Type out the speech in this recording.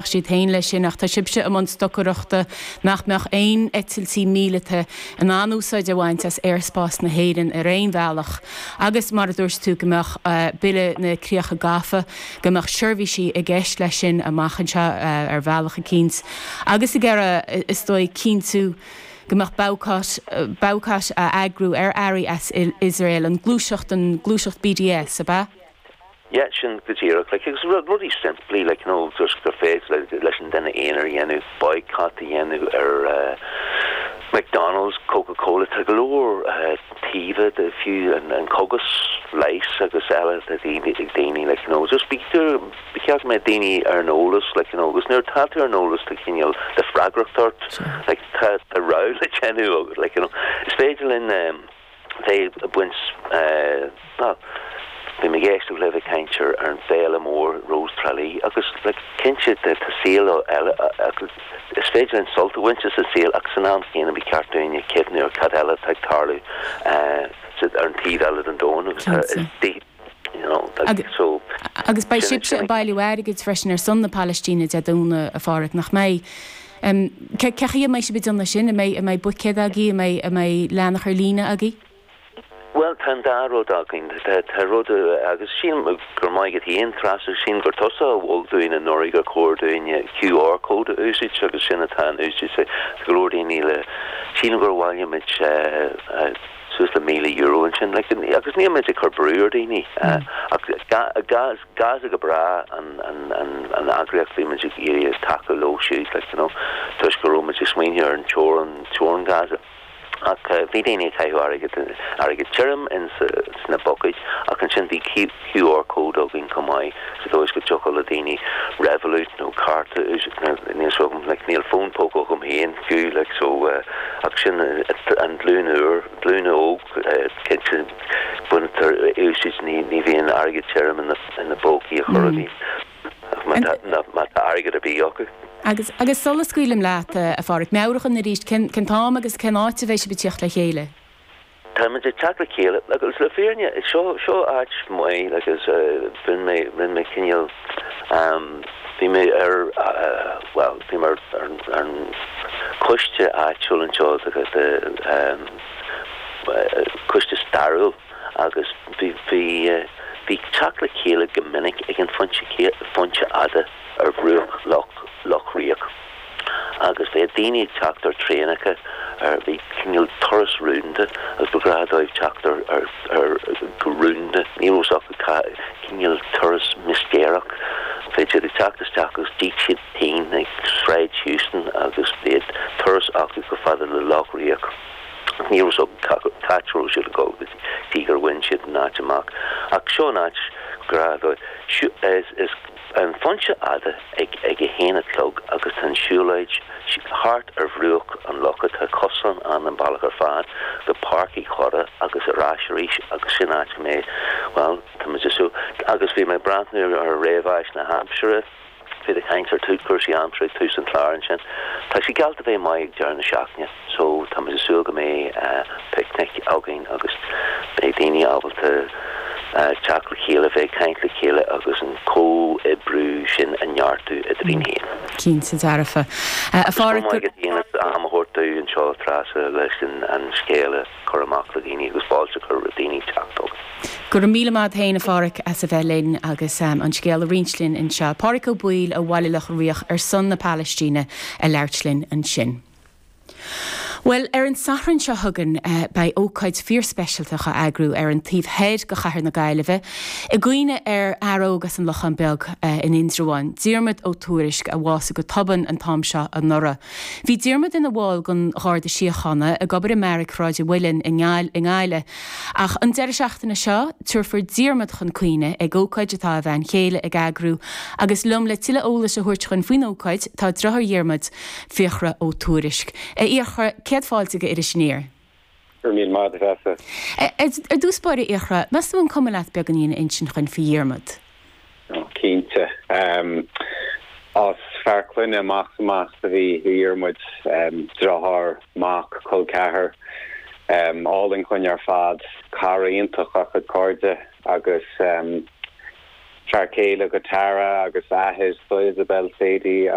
Siad féin leis sin ach tá sibhse i mbun stocaireachta nach mbeadh aon eitiltí míleata in ann úsáid a bhaint as aerspás na hÉireann ar aon bhealach agus mar a dúirt tú go mbeadh Bille na Críocha Gafa, go mbeadh seirbhísí i gceist leis sin amach anseo ar bhealach eicínt agus ag iarraidh is dóigh cinntiú go mbeadh baghcat, baghcat á eagrú ar earraí as Iosrael, an gluaiseacht, an gluaiseacht BDS, ab ea? Yeah, sin go díreach, like, agus rudaí simplí, like, you know, just gur féidir leis an duine aonair a dhéanamh, boycott a dhéanamh ar eh, McDonald's, Coca-Cola, tá go leor eh, taobha de fiú an, an cógas leighis agus eile tá daoine ag daoine, like, you know, just bí ba cheart go mbeadh daoine ar an eolas, like, you know, agus nuair atá tú ar an eolas tá cineál de freagracht ort, like, tá tá rogha le déanamh agat, like, you know, is féidir linn eh, bheith ag baint, bhuel, bhí mé ag éisteacht libh ag caint ar an bhféile mór Rós Trá Lí agus like cinnte tá saol eile agus is féidir linn sult a bhaint as an saol ach san am chéanna ba cheart dúinn cuimhniú ar cad eile atá ag tarlú ar an taobh eile den domhan agus tá you know like so Agus beidh sibhse ag bailiú airgid freisin ar son na Palaistíne Dé Domhnaigh, a Pháraic, nach mbeidh? Cé chaoi a mbeidh sibh ag déanamh sin? An mbeidh, an mbeidh buicéad agaibh? An mbeidh, an mbeidh leathanach ar líne agaibh? Bhuel, tá an dá rud againn. Tá, tá rud, agus sílim gur maith agat féin, Treasa, sílim gur tusa a mhol dúinn anuraidh gur chóir dúinn QR code a úsáid agus sin atá in úsáid. Tá go leor daoine le, sílim gur bhailigh muid suas le €1,000 ansin. Like, agus níl muid ag cur brú ar daoine ach Gaza go breá an an eagraíocht bhí muid ag iarraidh tacú leo siúd, like, you know, toisc go raibh muid ag smaoineamh ar an teorainn, teorainn Gaza. Ach bhí daoine ag caitheamh airgead, airgead tirim in sna bucaeid ach ansin bhí QR code againn chomh maith sa dóigh is go dtiocfadh le daoine Revolut nó cárta a úsáid, níl a fhios agam, like, níl fón póca agam féin fiú, like, so, ach sin an glúin úr, glúin óg, cinnte, baintear úsáid, ní bhíonn airgead tirim ina bpócaí ar chor ar bith. Má tá airgead ar bith acu. Agus, agus sula scaoilim leat, a Pháraic, meabhraigh dhúinn arís, cén, cén t-am agus cén áit a bheidh sibh ag tíocht le chéile? Táimid ag teacht le chéile, agus le fírinne, seo, seo áit mhaith, agus rinne mé, rinne mé cineál, bhí mé ar, bhuel, bhí mé ar, ar an choiste áitiúil anseo, de, de, coiste stairiúil. agus bhí bhí teacht le chéile go minic ag an Phointe Phointe Fhada ar bhruach Loch Loch Riach agus bheadh daoine ag teacht ar traenacha ar bhí cineál turas rúnda agus ba ghnách dóibh teacht ar ar ar go rúnda ní raibh a fhios acu cá cineál turas mistéireach bheadh siad ag teacht isteach agus d'íoc siad pingin ag Sráid Heuston agus bheadh turas acu chomh fada le Loch Riach. Ní raibh a fhios acu cá háit a raibh siad ag dul go dtí gur bhain siad an áit amach. Ach seo an áit gur is is an Phointe Fhada ag ag a haon a chlog agus tá an siúlóid thart ar bhruach an locha. Tá cosán ann an bealach ar fad go Páirc Uí Chorra agus ar ais arís agus sin áit go mbeidh, bhuel, tá muid ag súil. Agus bhí mé ag breathnú ar réamhaisnéis na haimsire. Bhí tú ag caint ar chúrsaí aimsire ag tús an chláir ansin. Tá sé geallta bheith maith ag deireadh na seachtaine so tá muid ag súil go mbeidh picnic againn agus beidh daoine ábalta teacht le chéile, bheith ag caint le chéile agus an comhoibriú sin a neartú eadrainn féin. Cinnte dearfa. A Pháraic, go. Is maith agat am a thabhairt dúinn anseo, Treasa, leis an scéal a. cur amach le daoine agus fáilte a chur roimh daoine teacht chugainn. Go raibh míle maith agat féin, a Pháraic, as a bheith linn agus an scéal a roinnt linn anseo. Páraic Ó Baoill ó Bhaile Locha Riach ar son na Palaistíne ag labhairt linn ansin. Bhuel, ar an Satharn seo chugainn beidh ócáid fíorspeisialta á eagrú ar an taobh thoir de chathair na Gaillimhe i gcuimhne ar fhear óg as an Lochán Beag in Indreabhán, Diarmuid Ó Tuairisg, a bhásaigh go tobann an t-am seo anuraidh. Bhí Diarmuid ina bhall den Gharda Síochána, ag obair i mBeairic Shráid an Mhuilinn i nGaillimh. Ach an deireadh seachtaine seo, tabharfar Diarmuid chun cuimhne ag ócáid atá a bhean chéile ag eagrú agus liom le tuilleadh eolais a thabhairt dhúinn faoin ócáid tá deartháir Dhiarmuid, Fiachra Ó Tuairisg. A Fhiachra, céad fáilte go Iris Aniar. Go raibh míle maith agat, a Threasa. Ar dtús báire, a Fhiachra, meas tú an cuma leat beagáinín a insint dhuinn faoi Dhiarmaid? Ó, cinnte. Is fear clainne amach is amach a bhí i Dhiarmuid, deartháir, mac, col ceathar. Álainn chugainn ar fad, cara iontach dá chuid cairde agus. Fear céile do Tara agus athair do Isabel, Sadie.